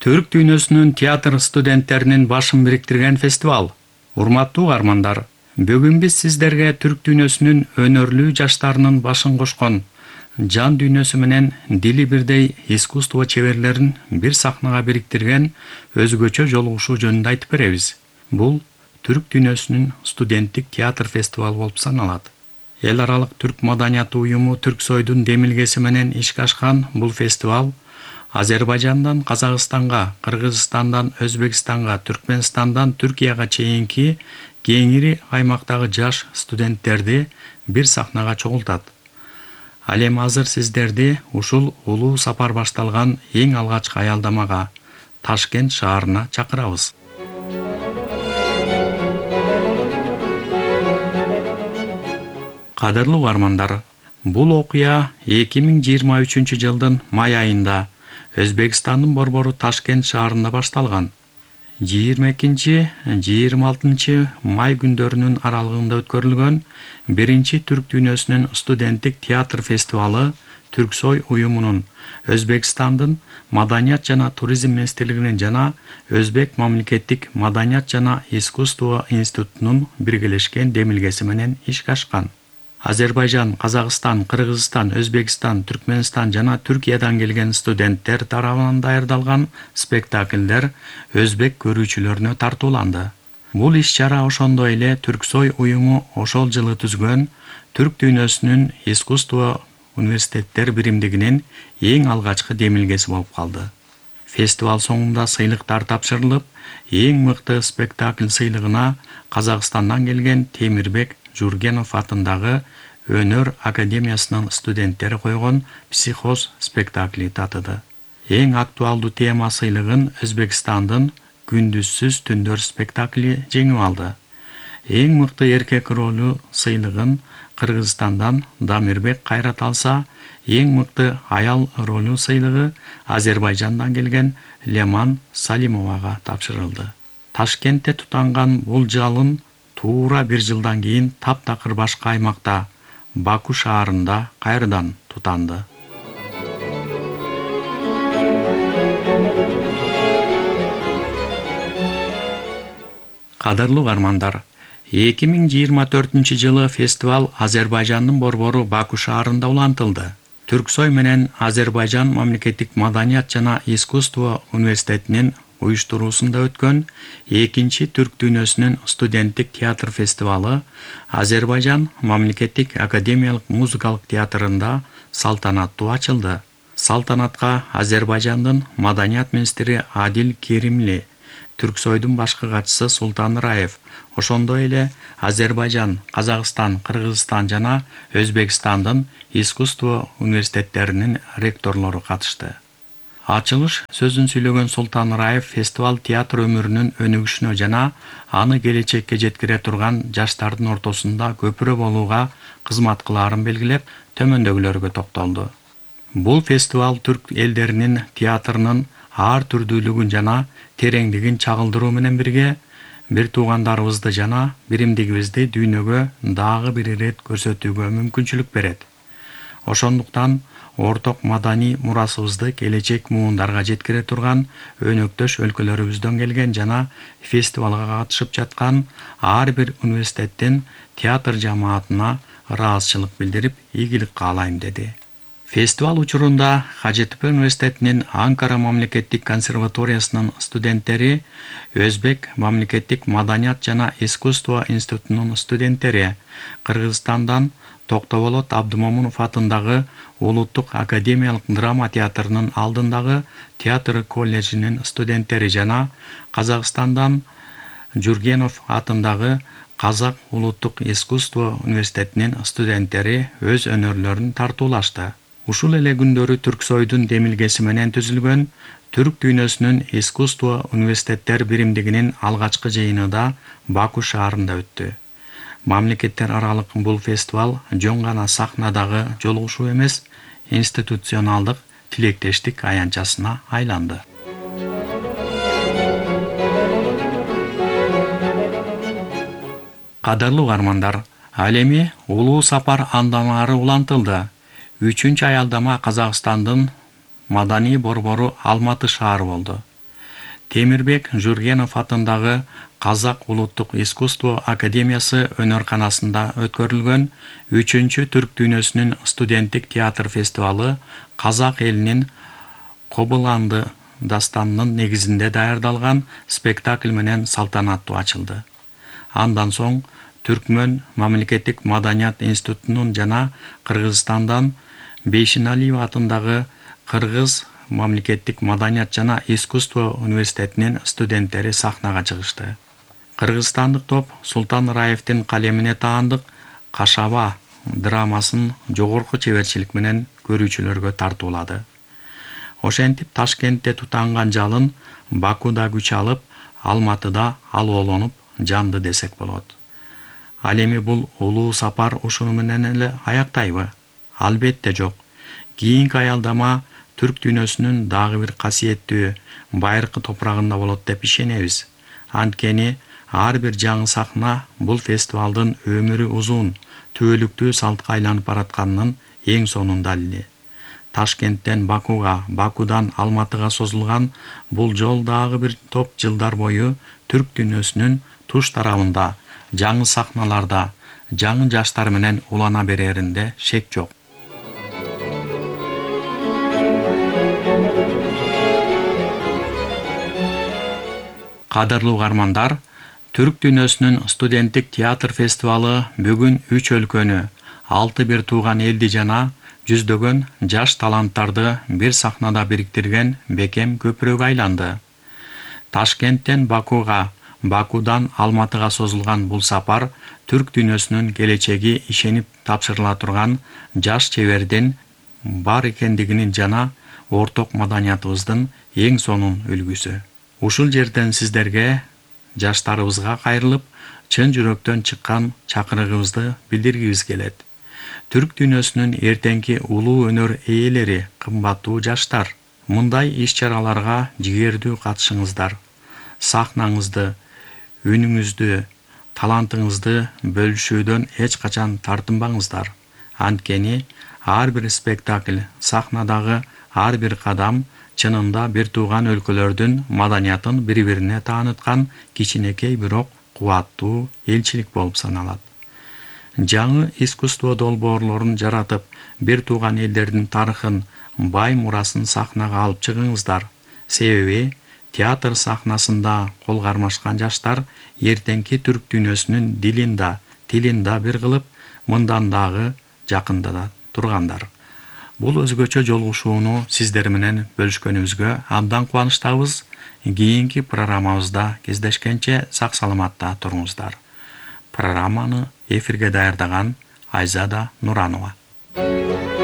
Түрк дүйнөсүнүн театр студенттеринин башын бириктирген фестивал. Урматтуу угармандар, бүгүн биз сиздерге түрк дүйнөсүнүн өнөрлүү жаштарынын башын кошкон, жан дүйнөсү менен дили бирдей искусство чеберлерин бир сахнага бириктирген өзгөчө жолугушуу жөнүндө айтып беребиз. Бул түрк дүйнөсүнүн студенттик театр фестивалы болуп саналат. Эл аралык түрк маданияты уюму Түрксойдун демилгеси менен ишке ашкан бул фестивал Азербайжандан Казакстанга, Кыргызстандан Өзбекстанга, Түркмөнстандан Түркияга чейинки кеңири аймактагы жаш студенттерди бир сахнага чогултат. Ал эми азыр сиздерди ушул улуу сапар башталган эң алгачкы аялдамага, Ташкент шаарына чакырабыз. Кадырлуу угармандар, бул окуя 2023 жылдын май айында Өзбекстандын борбору Ташкент шаарында башталган. 22-26 май күндөрүнүн аралыгында өткөрүлгөн биринчи түрк дүйнөсүнүн студенттик театр фестивалы Түрксой уюмунун, Өзбекстандын Маданият жана туризм министрлигинин жана Өзбек мамлекеттик маданият жана искусство институтунун биргелешкен демилгеси менен ишке ашкан. Азербайжан, Казакстан, Кыргызстан, Өзбекстан, Түркмөнстан жана Түркиядан келген студенттер тарабынан даярдалган спектакльдер өзбек көрүүчүлөрүнө тартууланды. Бул иш-чара ошондой эле Түрксой уюму ошол жылы түзгөн түрк дүйнөсүнүн искусство университеттер биримдигинин эң алгачкы демилгеси болуп калды. Фестиваль соңунда сыйлыктар тапшырылып, эң мыкты спектакль сыйлыгына Казакстандан келген Темирбек Жургенов атындагы Өнөр академиясынын студенттери койгон «Психоз» спектакли татыды. Эң актуалдуу тема сыйлыгын Өзбекстандын «Күндүзсүз түндөр» спектакли жеңип алды. Эң мыкты эркек ролу сыйлыгын Кыргызстандан Дамирбек Кайрат алса, эң мыкты аял ролу сыйлыгы Азербайжандан келген Леман Салимовага тапшырылды. Ташкентте тутанган бул жалын туура бир жылдан кийин таптакыр башка аймакта, Баку шаарында кайрадан тутанды. Кадырлуу угармандар, 2024 жылы фестиваль Азербайжандын борбору Баку шаарында улантылды. Түрксой менен Азербайжан мамлекеттик маданият жана искусство университетинин уюштуруусунда өткөн экинчи түрк дүйнөсүнүн студенттик театр фестивалы Азербайжан мамлекеттик академиялык музыкалык театрында салтанаттуу ачылды. Салтанатка Азербайжандын маданият министри Адил Керимли, Түрксойдун башкы катчысы Султан Раев, ошондой эле Азербайжан, Казакстан, Кыргызстан жана Өзбекстандын искусство университеттеринин ректорлору катышты. Ачылыш сөзүн сүйлөгөн Султан Раев фестиваль театр өмүрүнүн өнүгүшүнө жана аны келечекке жеткире турган жаштардын ортосунда көпүрө болууга кызмат кылаарын белгилеп, төмөндөгүлөргө токтолду. Бул фестиваль түрк элдеринин театрынын ар түрдүүлүгүн жана тереңдигин чагылдыруу менен бирге бир туугандарыбызды жана биримдигибизди дүйнөгө дагы бир ирет көрсөтүүгө мүмкүнчүлүк берет. Ошондуктан орток маданий мурасыбызды келечек муундарга жеткире турган өнөктөш өлкөлөрүбүздөн келген жана фестивалга катышып жаткан ар бир университеттин театр жамаатына ыраазычылык билдирип, ийгилик каалайм деди. Фестиваль учурунда ХЖТП университетинин Анкара мамлекеттик консерваториясынын студенттери, Өзбек мамлекеттик маданият жана искусство институтунун студенттери, Кыргызстандан Токтоболот Абдымомунов атындагы Улуттук академиялык драма театрынын алдындагы театр колледжинин студенттери жана Казакстандан Жургенов атындагы Казак улуттук искусство университетинин студенттери өз өнөрлөрүн тартуулашты. Ушул эле күндөрү Түрксойдун демилгеси менен түзүлгөн түрк дүйнөсүнүн искусство университеттер биримдигинин алгачкы жыйыны да Баку шаарында өттү. Мамлекеттер аралык бул фестиваль жөн гана сахнадагы жолугушуу эмес, институционалдык тилектештик аянтчасына айланды. Кадырлуу угармандар, ал эми улуу сапар андамары улантылды. 3-аялдама Казакстандын маданий борбору Алматы шаары болду. Темирбек Жургенов атындагы Казак улуттук искусство академиясы өнөрканасында өткөрүлгөн 3-чү Түрк дүйнөсүнүн студенттик театр фестивалы казак элинин Кобыланды дастанынын негизинде даярдалган спектакль менен салтанаттуу ачылды. Андан соң Түркмөн мамлекеттик маданият институтунун жана Кыргызстандан Бейшеналиев атындагы Кыргыз мамлекеттик маданият жана искусство университетинин студенттери сахнага чыгышты. Кыргызстандык топ Султан Раевдин калемине таандык Кашаба драмасын жогорку чеберчилик менен көрүүчүлөргө тартуулады. Ошентип Ташкентте тутанган жалын Бакуда күч алып, Алматыда алоолонуп жанды десек болот. Ал эми бул улуу сапар ушуну менен эле аяктайбы? Албетте жок. Кийинки аялдама Түрк дүйнөсүнүн дагы бир касиеттүү байыркы топурагында болот деп ишенебиз. Анткени ар бир жаңы сахна бул фестивалдын өмүрү узун, түбөлүктүү салтка айланып баратканынын эң сонун далили. Ташкенттен Бакуга, Бакудан Алматыга созулган бул жол дагы бир топ жылдар бою Түрк дүйнөсүнүн туш тарабында, жаңы сахналарда, жаңы жаштар менен улана береринде шек жок. Кадырлуу угармандар, Түрк дүйнөсүнүн студенттик театр фестивалы бүгүн 3 өлкөнү, 6 бир тууган элди жана жүздөгөн жаш таланттарды бир сахнада бириктирген бекем көпүрөгкө айланды. Ташкенттен Бакуга, Бакудан Алматыга созулган бул сапар Түрк дүйнөсүнүн келечеги ишенип тапшырыла турган жаш чебердин бар экендигинин жана орток маданиятыбыздын эң сонун үлгүсү. Ушул жерден сиздерге, жаштарыбызга кайрылып, чын жүрөктөн чыккан чакырыгыбызды билдиргибиз келет. Түрк дүйнөсүнүн эртеңки улуу өнөр ээлери, кымбаттуу жаштар, мындай иш-чараларга жигердүү катышыңыздар. Сахнаңызды, үнүңүздү, талантыңызды бөлүшүүдөн эч качан тартынбаңыздар. Анткени ар бир спектакль, сахнадагы ар бир кадам чынында бир тууган өлкөлөрдүн маданиятын бири-бирине тааныткан кичинекей бирок кубаттуу элчилик болуп саналат. Жаңы искусство долбоорлорун жаратып, бир тууган элдердин тарыхын, бай мурасын сахнага алып чыгыңыздар. Себеби театр сахнасында кол кармашкан жаштар эртеңки түрк дүйнөсүнүн дилин да, тилин да бир кылып, мындан дагы жакындата тургандар. Бул өзгөчө жолугушууну сиздер менен бөлүшкөнүбүзгө абдан кубанычтабыз. Кийинки программабызда кездешкенче сак саламатта туруңуздар. Программаны эфирге даярдаган Айзада Нуранова.